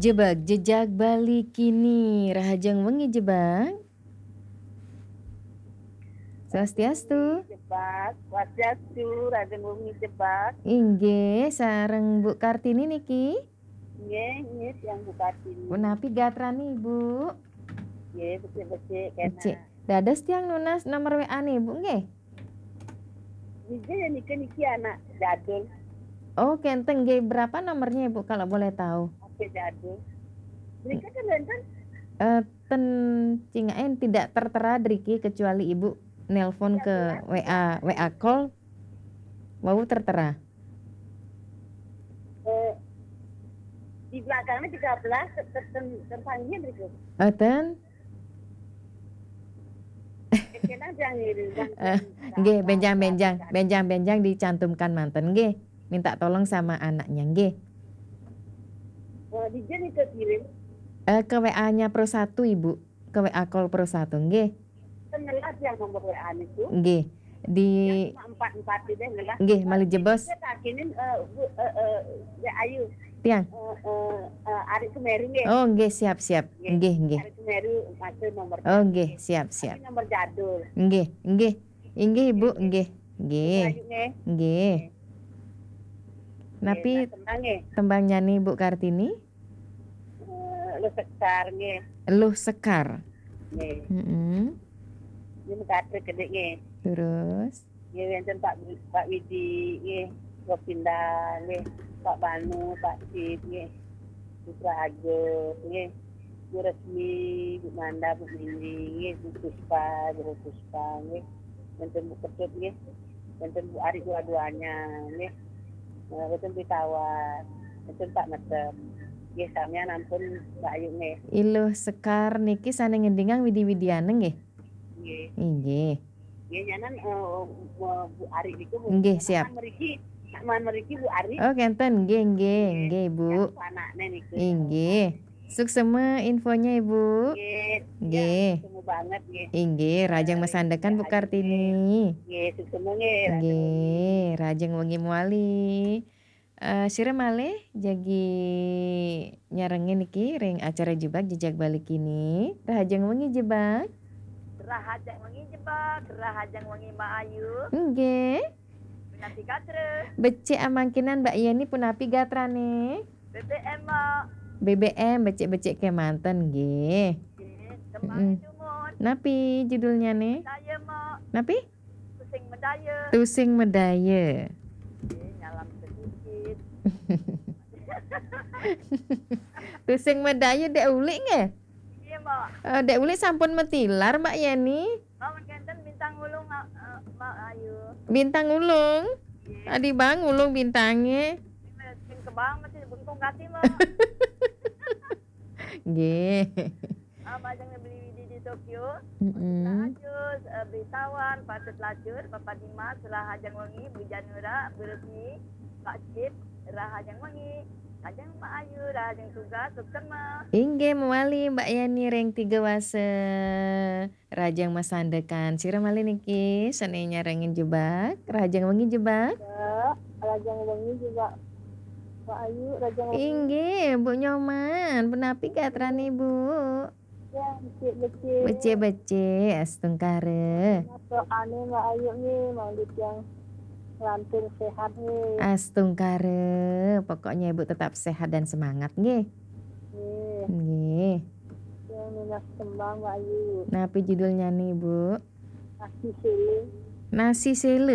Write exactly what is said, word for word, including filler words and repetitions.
Jebak, jejak Bali kini, rahajeng wengi Jebak. Swastiastu. Jebak, Swastiastu, rahajeng wengi Jebak. Inggih, sareng Bu Kartini niki. Nggih, nggih, tiang Bu Kartini. Punapi gatrani Ibu? Nggih, becik-becik kena. Becik. Dados tiang nunas nomor W A-ne Ibu nggih? Niki ya niki niki anak jadul. Oh, kenten nggih. Berapa nomornya Ibu kalau boleh tahu? Oke, jadul. Mereka kan wonten Eh, ten cingaken tidak tertera driki kecuali Ibu nelpon ke W A, W A call. Wau tertera. eh, di belakangnya tiga belas ter- ter- ter- terpanggil berikut. Eten? Kena yang ini, yang- Eh, yang- nggih, yang- benjang-benjang, yang- benjang-benjang dicantumkan manten nggih. Minta tolong sama anaknya nggih. Eh, di Jen itu kirim. Eh, ke W A-nya Pro satu Ibu, ke W A call Pro satu nggih. Kan ngelas yang nomor W A itu. Nggih. Di Yang empat empat itu ngelas. Nggih, malih jebos. Saya takinin eh, Bu, eh, eh, ya ayo. Tiang. Eh, eh, eh, Ari Semeru nggih. Oh, nggih, siap, siap. Nggih, nggih. Ari Semeru masuk nomor. Oh, nggih, siap, siap. Ini nomor jadul. Nggih, nggih. Inggih Ibu, nggih. Nggih. Ayo nggih. Nggih. Napi Nggih, nah, tenang nggih. tembang nyanyi Bu Kartini? Eh, Lu Sekar nggih. Luh Sekar. Nggih. Heeh. Ini mengkatrek gede nggih. Terus? Nggih, wonten Pak Wi- Pak Widi nggih, Gopinda nggih, Pak Banu, Pak Cip nggih, Putra Agus nggih, Bu Resmi, Bu Manda, Bu Mini nggih, Bu Puspa, Bu Puspa nggih, wonten Bu Ketut nggih, wonten Bu Ari dua-duanya nggih, eh, wonten Bu Tawar, wonten Pak Metem nggih, samian ampun Mbak Ayu nggih. Iluh Sekar niki sane ngendingang Widi Widiana nggih. Nggih. Inggih. Nggih, nyanan eh, Bu Ari niku Nggih, siap. Meriki, man meriki Bu Ari. Oh, kenten nggih, nggih, nggih Bu. Anaknya niku. Inggih. Suksema infonya Ibu. Nggih. Nggih. Semu banget nggih. Inggih, rahajeng masandekan Bu Kartini. Nggih, suksema nggih. Nggih, rahajeng wengi mawali. Eh, sira malih jagi nyarengin niki ring acara Jebak Jejak Bali kini. Rahajeng wengi Jebak. Rahajeng wengi Jebak, rahajeng wengi Mbak Ayu. Nggih. Punapi gatra? Becik amangkinan Mbak Yeni punapi gatrane? B B M, Mbak. B B M becik-becik kemanten nggih. Nggih, tembangnya dumun. Napi judulnya nih? Saya, Mbak. Napi? Pusing medaya. Tusing Medaya. Nggih, nyalam sedikit. Tusing Medaya Dek Ulik nggih? Iya, Mbak. Eh, Dek Ulik sampun matilar Mbak Yeni. Mbak, mengkenten Bintang Ulung, eh, Mbak Ayu. Bintang Ulung. Adi bang ulung bintange. Sing kebang masih bengkong kati, Mbak. Nggih. Ah, Mbak, jangan beli Widi di Tokyo. Mm-mm. Lajus, eh, Beli Tawan, Patut Lacur, Papa Dimas, Rahajeng Wengi, Bu Janura, Bu Resmi, Pak Cip, Rahajeng Wengi, Rahajeng Mbak Ayu, Rahajeng Tugas, Suksema. Inggih mawali Mbak Yani ring Tiga Wasa. Rahajeng masandekan. Sira malih niki sane nyarengin Jebak. Rahajeng wengi Jebak. Ya, rahajeng wengi juga Mbak Ayu, rahajeng wengi. Inggih, Bu Nyoman, punapi gatrane Bu? Ya, becik-becik. Becik-becik, astungkara. Doane Mbak Ayu nih, mangke yang lantur sehat nih. Astungkara, pokoknya Ibu tetap sehat dan semangat nggih. Nih, Nggih. yang nunas tembang Mbak Ayu. Napi judulnya nih, Bu? Nasi sele. Nasi sele.